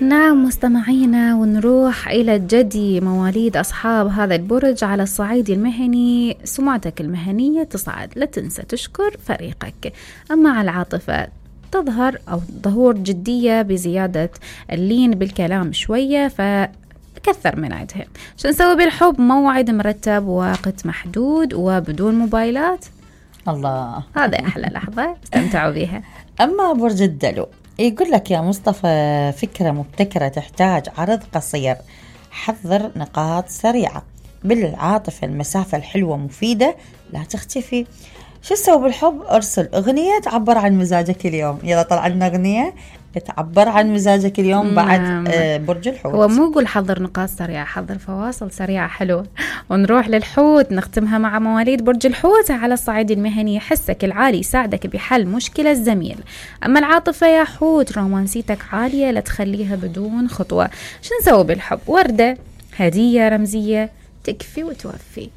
نعم مستمعينا، ونروح إلى الجدي مواليد أصحاب هذا البرج. على الصعيد المهني سمعتك المهنية تصعد، لا تنسى تشكر فريقك. أما على العاطفة تظهر أو ظهور جدية بزيادة اللين بالكلام شوية، فكثر من عندها. شو نسوي بالحب؟ موعد مرتب، وقت محدود، وبدون موبايلات. الله، هذا أحلى لحظة استمتعوا بها. أما برج الدلو يقول لك يا مصطفى فكرة مبتكرة تحتاج عرض قصير، حضر نقاط سريعة. بالعاطفة المسافة الحلوة مفيدة، لا تختفي. شو تسوي بالحب؟ ارسل أغنية تعبر عن مزاجك اليوم. يلا طلع لنا أغنية تعبر عن مزاجك اليوم بعد برج الحوت. هو مو يقول حضر نقاط سريعة، حضر فواصل سريعة حلوة. ونروح للحوت، نختمها مع مواليد برج الحوت. على الصعيد المهني حسك العالي يساعدك بحل مشكلة الزميل. أما العاطفة يا حوت رومانسيتك عالية، لا تخليها بدون خطوة. شو نسوي بالحب؟ وردة، هدية رمزية تكفي وتوفي.